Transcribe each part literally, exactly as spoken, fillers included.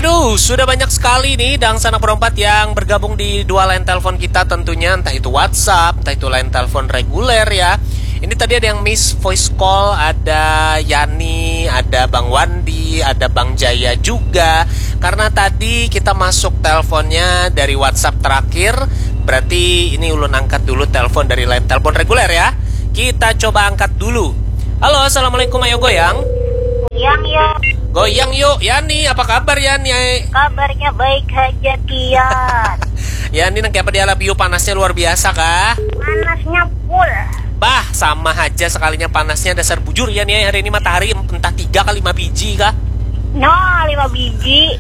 Aduh, sudah banyak sekali nih dangsanak berempat yang bergabung di dua line telepon kita tentunya, entah itu WhatsApp, entah itu line telepon reguler ya. Ini tadi ada yang miss voice call, ada Yani, ada Bang Wandi, ada Bang Jaya juga. Karena tadi kita masuk teleponnya dari WhatsApp terakhir, berarti ini ulun angkat dulu telepon dari line telepon reguler ya. Kita coba angkat dulu. Halo, assalamualaikum, ayo goyang. Yang ya. Goyang yuk, Yani. Apa kabar, Yani? Kabarnya baik aja, Tian. Yani, nang kayak apa di Alabiu, panasnya luar biasa kah? Panasnya full. Bah, sama aja sekalinya panasnya, dasar bujur, Yani. Hari ini matahari entah tiga kali lima biji kah? No, lima biji.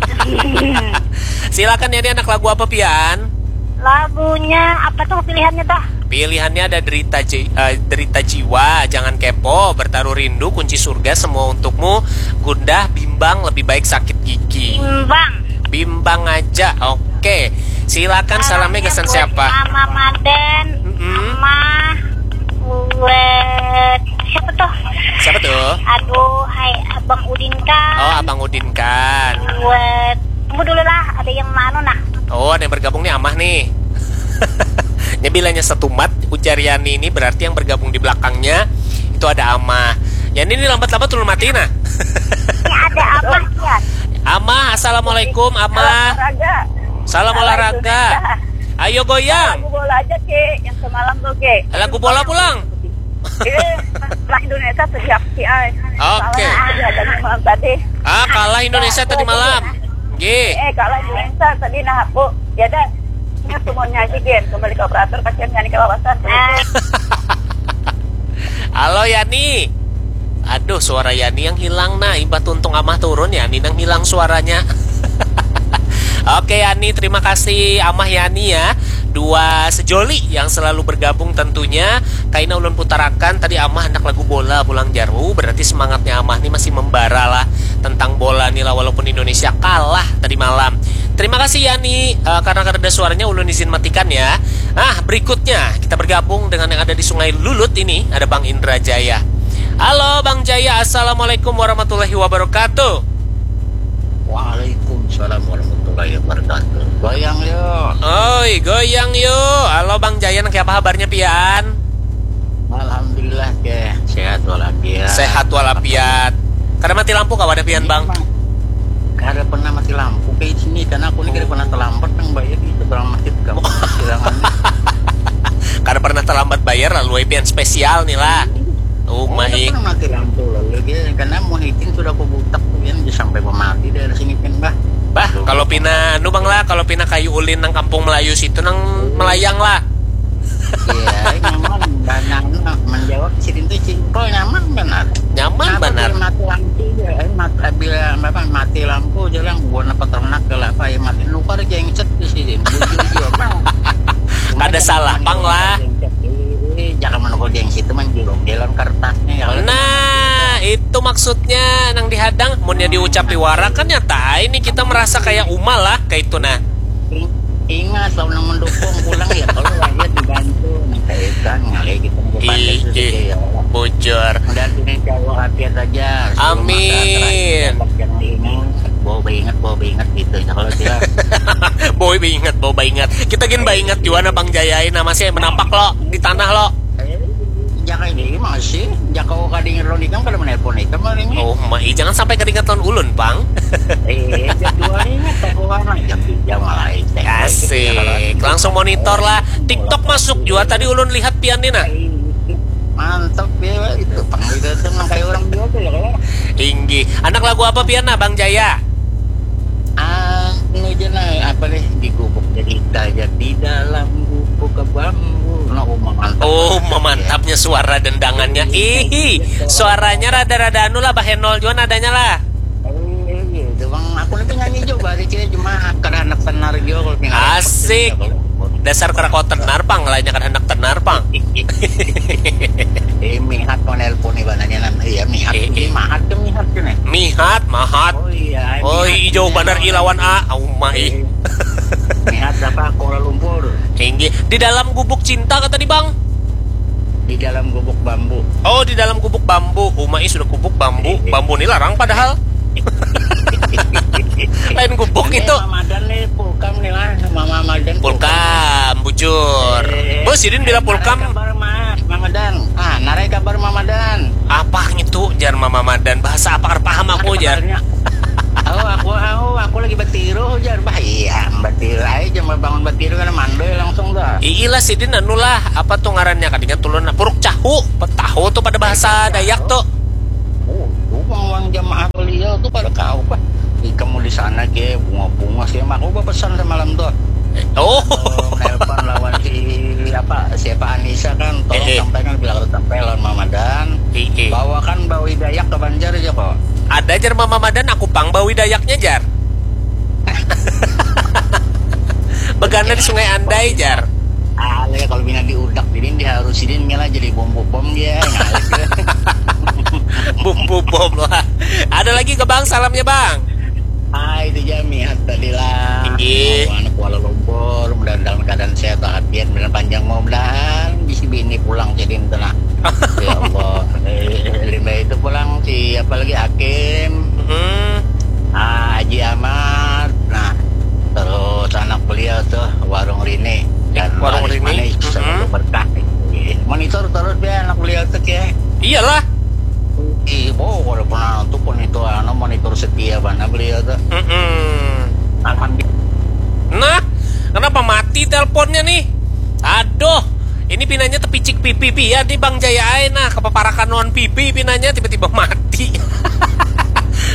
Silakan, Yani, anak lagu apa pian? Lagunya apa tuh pilihannya tuh? Pilihannya ada Derita Ji- eh, Derita Jiwa, Jangan Kepo, Bertaruh Rindu, Kunci Surga, Semua Untukmu, Gundah, Bimbang, Lebih Baik Sakit Gigi. Bimbang. Bimbang aja. Oke. Silakan, salamnya gasan siapa? Mama Maden, mm-mm. Mama buat siapa tuh? Siapa tuh? Aduh, hai Abang Udin kan. Oh, Abang Udin kan. Buat, tunggu dulu lah, ada yang mana nah? Oh, ada yang bergabung nih, Amah nih. Nya bilanya setumat, ujar Yani ini berarti yang bergabung di belakangnya itu ada Amah. Yani ini lambat-lambat turun mati nah. Ini ada Amah ya. Amah, assalamualaikum, Amah. Salam olahraga. Salam olahraga. Ayo goyang. Lagu bola aja, Ki, yang semalam tuh, Ki. Lagu bola pulang. Eh, kalah Indonesia sedih aku sih, ay. Oke. Soalnya aku dihadangi malam tadi. Ah, kalah Indonesia tadi malam. Gih. Eh, kalah Indonesia tadi, nah, aku. Ya dah. Ini semuanya aja, Gen. Kembali ke operator, kasihan Yani kelawasan. Halo, Yani. Aduh, suara Yani yang hilang, nah. Imbah tuntung Amah turun, Yani nang hilang suaranya. Oke, Yani, terima kasih Amah Yani ya. Dua sejoli yang selalu bergabung tentunya. Kaina ulun putarakan tadi, Amah handak lagu bola pulang jar. Uh, berarti semangatnya Amah nih masih membara lah tentang bola nih lah, walaupun Indonesia kalah tadi malam. Terima kasih Yani. Eh, karena kada ada suaranya, ulun izin matikan ya. Nah, berikutnya kita bergabung dengan yang ada di Sungai Lulut ini, ada Bang Indra Jaya. Halo Bang Jaya, assalamualaikum warahmatullahi wabarakatuh. Waalaikumsalam warahmatullahi wabarakatuh. Goyang yuk. Oi, goyang yuk. Halo Bang Jaya, nang apa habarnya pian? Alhamdulillah, Keh. Sehat walafiat. Sehat walafiat. Kada mati lampu kah wadah pian, Bang? Kada pernah mati lampu kayak sini, karena aku ni kada pernah terlambat nang bayar di seberang masjid, kamu silangan. Kada pernah terlambat bayar, lalu ai pian spesial nih lah. Uma. Kada pernah mati lampu lalu dia, karena Muhyiddin sudah aku butak tu, pian, dia sampai pemati daerah sini, pian, bah. Bah, kalau pina anu, Bang lah, kalau pina kayu ulin nang Kampung Melayu situ nang melayang lah. Iya, nyaman. Dan anu, menjawab sidin tu simple, nyaman benar. Nyaman benar. Bila mati lampu je, eh, mat, bila apa, mati lampu je lah, buat apa ternak ke lah, apa ya, mati nukar jengset di sidin. Bujur jua, Bang. Kada salah pang lah. Eh, jangan menukar jengset itu menjuluk jalan kertasnya ya. Nah, itu maksudnya nang dihadang. Munnya diucapi wara kan nyata ini kita merasa kayak Uma lah, kayak itu nah. Ingat, lawan nang mendukung pulang ya, kalau rakyat dibantu, nang kaitan ngalih kita nang bepandas. Ih, ih, ya Allah. Bujur. Mudah ini insya Allah hati aja. Amin. Bawa baingat, bawa baingat gitu ya kalau tidak. Bawa baingat, bawa baingat. Kita gin baingat juga nah Bang Jaya ini masih menampak lo di tanah lo. Jaka ini masih, jaka kau kadingat lo nikam kada menelpon ikam hari ini. Oh, mai, jangan sampai kadingat lawan ulun, Pang. Eh, jadwal ini tak keluar lah, jam tiga malah. Asik. Langsung monitor lah. TikTok masuk juga tadi ulun lihat pian ni nah. Mantap ya itu, Pang, itu tuh nang kayak orang biasa ya kalau. Inggih. Anak lagu apa pian nah, Bang Jaya? Anu je nah, apa nih, di gubuk cerita aja, di dalam gubuk ke bambu. Nah, oh, mantap. Oh, mantapnya suara dendangannya. Ih, suaranya rada-rada anu lah, bahenol juga nadanya lah. Oh, iya, iya. Itu Bang, aku nih penyanyi juga, bari cewek cuma kada handak tenar juga kalau tinggal. Asik. Dasar kada kawa tenar, Pang, lainnya kada handak tenar, Pang. Eh, mihat mau nelpon nih, bananya nan, iya, mihat. Eh, eh. Mahat ke mihat ke nih? Mihat, mahat. Oh iya, oh, mihat, jauh banar i lawan a. Auma ih. Eh, mihat apa? Kuala Lumpur. Inggih. Di dalam gubuk cinta kata di Bang. Di dalam gubuk bambu. Oh, di dalam gubuk bambu. Uma ih sudah gubuk bambu. Eh, eh. Bambu ni larang padahal. Lain gubuk. Itu. Eh, Mamadan nih, Pulkam nih lah, Mamadan. Pulkam, bujur. Eh, Bos, sidin bila Pulkam. Kabar, Mas, Mamadan. Ah, narai kabar Mamadan. Apa ngitu, jar Mamadan? Bahasa apa, kada paham aku, jar. Oh, aku, aku, aku lagi batiru, jar. Bah, iya, batiru aja, jangan bangun batiru, kan mandoi langsung dah. Iilah, sidin anu lah, apa tuh ngarannya, kadingat tulun, puruk cahu. Tahu tuh pada bahasa Dayak tuh. Oh, itu uang jamaah beliau tuh pada kau, bah. Ih, kamu di sana ke bunga-bunga sih, aku berpesan semalam tuh. Oh. Nelpon lawan si apa, siapa, Anissa kan, tolong sampaikan bila aku sampai lawan Mamadan. Bawakan bawi Dayak ke Banjar aja kok. Ada, jar Mamadan, aku pang bawi Dayaknya, jar. Begana di Sungai Andai, jar. Ah, ya, kalau bina diudak, jadi diharus, sidin lah jadi bom bom ya. Bom bom lah. Ada lagi ke Bang, salamnya, Bang? Ah, itu ja, mihat tadi lah. Inggih. Mau anak Kuala Lumpur, mudah-mudahan dalam keadaan sehat walafiat, mudah panjang, mudah-mudahan bisi bini pulang jadi itu nah. Ya Allah. Eh, limbah itu pulang si apa lagi, Hakim. Hmm. Ah, Haji Ahmad. Nah, terus anak beliau tuh, Warung Rini. Dan Warung Rini. Manis, hmm, selalu berkah. Monitor terus ya anak beliau tuh ya. Iyalah. Ih, bo, kalau pernah tuh pun itu, anu, monitor setia banget beliau tuh. Mm-mm. Alhamdulillah. Nah, kenapa mati teleponnya nih? Aduh, ini pinanya tepicik pipi pian nih Bang Jaya ai, nah, kepaparakan lawan pipi pinanya tiba-tiba mati.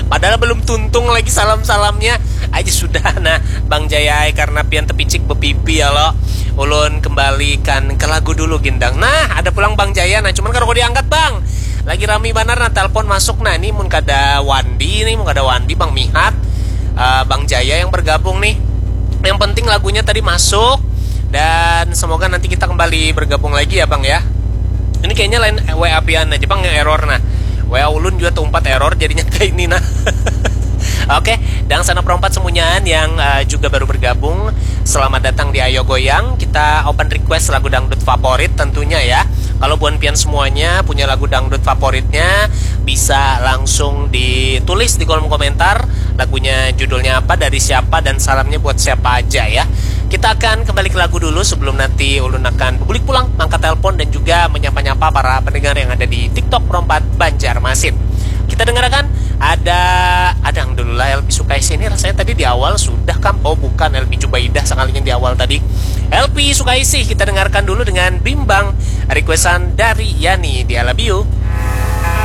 Padahal belum tuntung lagi salam-salamnya. Aja sudah, nah, Bang Jaya ai, karena pian tepicik bepipi ya lo. Ulun kembalikan ke lagu dulu, Gindang. Nah, ada pulang Bang Jaya, nah, cuman kada diangkat, Bang. Lagi rami banar, nah, telepon masuk. Nah, ini mun kada Wandi nih, mun kada Wandi, Bang Mihat, eh, Bang Jaya yang bergabung nih. Yang penting lagunya tadi masuk, dan semoga nanti kita kembali bergabung lagi ya, Bang, ya. Ini kayaknya lain W A pian aja, Bang, yang error, nah. W A ulun juga tempat error, jadinya kayak ini, nah. Oke, dan sana perempat semuanya yang, eh, juga baru bergabung, selamat datang di Ayo Goyang. Kita open request lagu dangdut favorit tentunya ya. Kalau buan pian semuanya punya lagu dangdut favoritnya, bisa langsung ditulis di kolom komentar. Lagunya judulnya apa, dari siapa, dan salamnya buat siapa aja ya. Kita akan kembali ke lagu dulu sebelum nanti ulun akan bulik pulang, angkat telepon, dan juga menyapa-nyapa para pendengar yang ada di TikTok Perompat Banjarmasin. Kita dengarkan ada, ada yang dulu lah, L P Sukaisi ini rasanya tadi di awal sudah kam? Oh, bukan, L P Jubaidah sekalinya di awal tadi. L P Sukaisi kita dengarkan dulu dengan Bimbang, requestan dari Yani di Alabiu.